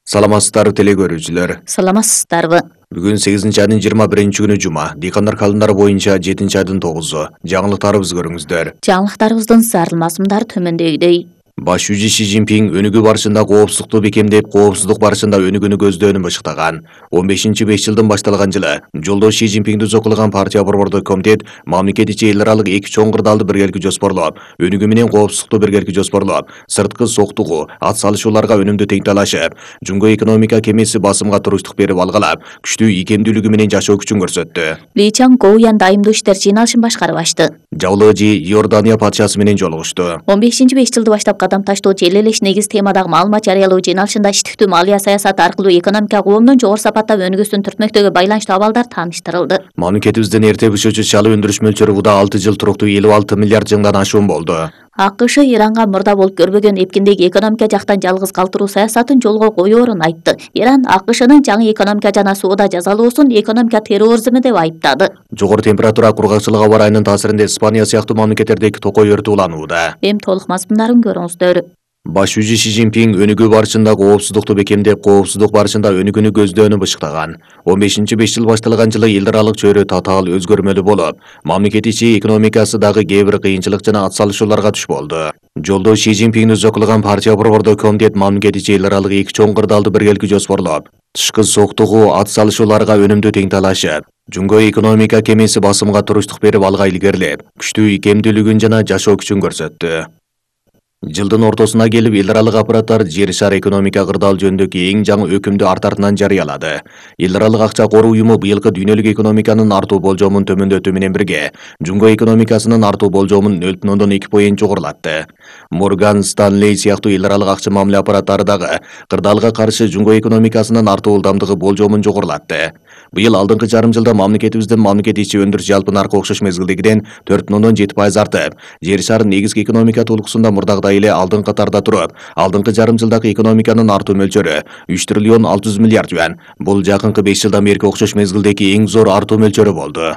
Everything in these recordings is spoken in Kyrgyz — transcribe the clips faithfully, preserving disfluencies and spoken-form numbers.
Саламатсыздарбы теле көрүүчүлөр. Саламатсыздарбы. Бүгүн сегизинчи айдын жыйырма биринчи күнү жума. Дыйкандар календары боюнча жетинчи айдын тогузу. Жаңылыктарыбызды көрүңүздөр. Жаңылыктарыбыздын зарыл мазмундары төмөндөгүдөй. Баш жүзү Ши Цзиньпин өнүгүү барышында коопсуздукту бекемдеп, коопсуздук барышында өнүгүүнү көздөөнүн бышыктаган. он бешинчи беш жылдын башталган жылы жолдош Ши Цзиньпинди зокулаган партия борбордук комитет мамлекет ичи эл аралык эки чоң кырдаалды биргеликте жоспорлоп, өнүгүү менен коопсуздукту биргеликте жоспорлоп, сырткы соктугуу, ат салышууларга өнүмдүү тең талашып, жумго экономика кемеси басымга туруштук берип алгалап, күчтүү ийкемдүүлүгү менен жашоо күчүн көрсөттү. Ли Чан Гоуян дайымдуу иштер жыйналышын башкарып ачты. Жавлыжы Иордания патшасы менен жолугушту. он бешинчи беш жылды баштап кадам таштоочу эл элеш негиз темадагы маалымат жарыялоо жыйналышында иштиктүү малия саясаты аркылуу экономика коомдун жогору сапаттап өнүгүүсүн түртмөктөгү байланыштуу абалдар тааныштырылды. Мамлекетибиздин эрте бышуучу чалуу өндүрүш мөлчөрү буда алты жыл туруктуу элүү алты миллиард жыңдан ашуун болду. АКШ Иранга мурда болуп көрбөгөн эпкиндеги экономика жактан жалгыз калтыруу саясатын жолго коюорун айтты. Иран АКШнын жаңы экономика жана соода жазалоосун экономика терроризми деп айыптады. Жогору температура, кургакчылык аба ырайынын таасиринде Испания сыяктуу мамлекеттердеги токой өртү уланууда. Эми толук мазмундарын көрүңүздөр. Баш жүзү Ши Цзиньпин өнүгүү барышында коопсуздукту бекемдеп, коопсуздук барышында өнүгүүнү көздөөнү бышыктаган. он бешинчи беш жыл башталган жылы эл аралык чөйрө татаал өзгөрмөлүү болуп, мамлекет ичи экономикасы дагы кээ бир кыйынчылык жана атсалышууларга туш болду. Жолдош Ши Цзиньпинди зокулаган партия борбордук комитет мамлекет ичи эл аралык эки чоң кырдаалды биргеликте жоспорлоп, тышкы соктугуу, ат салышууларга өнүмдүү тең талашып, жумго экономика кемеси басымга туруштук берип алга илгерилеп, күчтүү ийкемдүүлүгүн жана жашоо күчүн көрсөттү. Жылдын ортосуна келип эл аралык аппараттар жер шар экономика кырдаал жөнүндөгү эң жаңы өкүмдү арт артынан жарыялады. Эл аралык акча коруу уюму быйылкы дүйнөлүк экономиканын артуу болжомун төмөндөтүү менен бирге, жумго экономикасынын артуу болжомун нөл бүтүн ондон эки поинт жогорулатты. Морган Станлей сыяктуу эл аралык акча мамиле аппараттары дагы кырдаалга каршы жумго экономикасынын артуу ылдамдыгы болжомун жогорулатты. Быйыл алдыңкы жарым жылда мамлекетибиздин мамлекет ичи өндүрүш жалпы наркы окшош мезгилдегиден төрт бүтүн ондон жети пайыз артып, жер шарын негизги экономика толукусунда мурдагыдай эле алдыңкы катарда туруп, алдыңкы жарым жылдагы экономиканын артуу мөлчөрү үч триллион алты жүз миллиард юан. Бул жакынкы беш жылдан берки окшош мезгилдеги эң зор артуу мөлчөрү болду.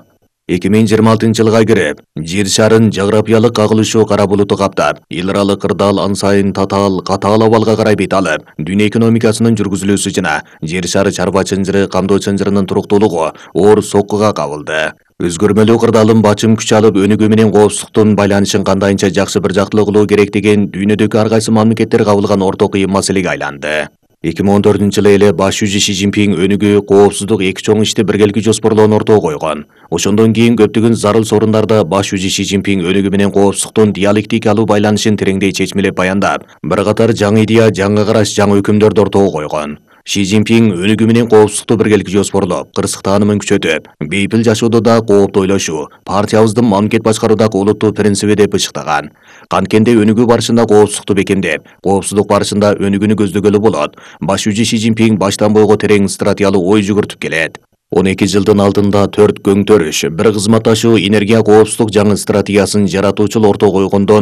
эки миң жыйырма алтынчы жылга кирип, жер шарын жографиялык кагылышуу кара булуту каптап, эл аралык кырдаал ан сайын татаал, катаал абалга карай бет алып, дүйнө экономикасынын жүргүзүлүүсү жана жер шары чарба чынжыры, камдоо чынжырынын туруктуулугу оор соккуга кабылды. Өзгөрмөлүү кырдаалын бачым күч алып, өнүгүү менен коопсуздуктун байланышын кандайынча жакшы бир жактылуу кылуу керек деген дүйнөдөгү ар кайсы мамлекеттер кабылган орток ыйым маселеге айланды. эки миң он төртүнчү жылы эле баш жүзү Ши Цзиньпин өнүгүү, коопсуздук эки чоң ишти биргеликте жоспорлоонун ортого койгон. Ошондон кийин көптөгөн зарыл сорундарда баш жүзү Ши Цзиньпин өнүгүү менен коопсуздуктун диалектикалуу байланышын тереңдей чечмелеп баяндап, бир катар жаңы идея, жаңы караш, жаңы өкүмдөрдү ортого койгон. Ши Цзиньпин өнүгүү менен коопсуздукту биргеликте жоспорлоп, кырсык таанымын күчөтүп, бейпил жашоодо да кооптуу ойлошуу, партиябыздын мамлекет башкаруудагы олуттуу принциби деп бышыктаган. Канткенде өнүгүү барышында коопсуздукту бекемдеп, коопсуздук барышында өнүгүүнү көздөгөлү болот. Баш жүзү Ши Цзиньпин баштан бойго терең стратегиялуу ой жүгүртүп келет. он эки жылдын алдында төрт көң төрүш, бир кызматташуу энергия коопсуздук жаңы стратегиясын жаратуучул ортого койгондон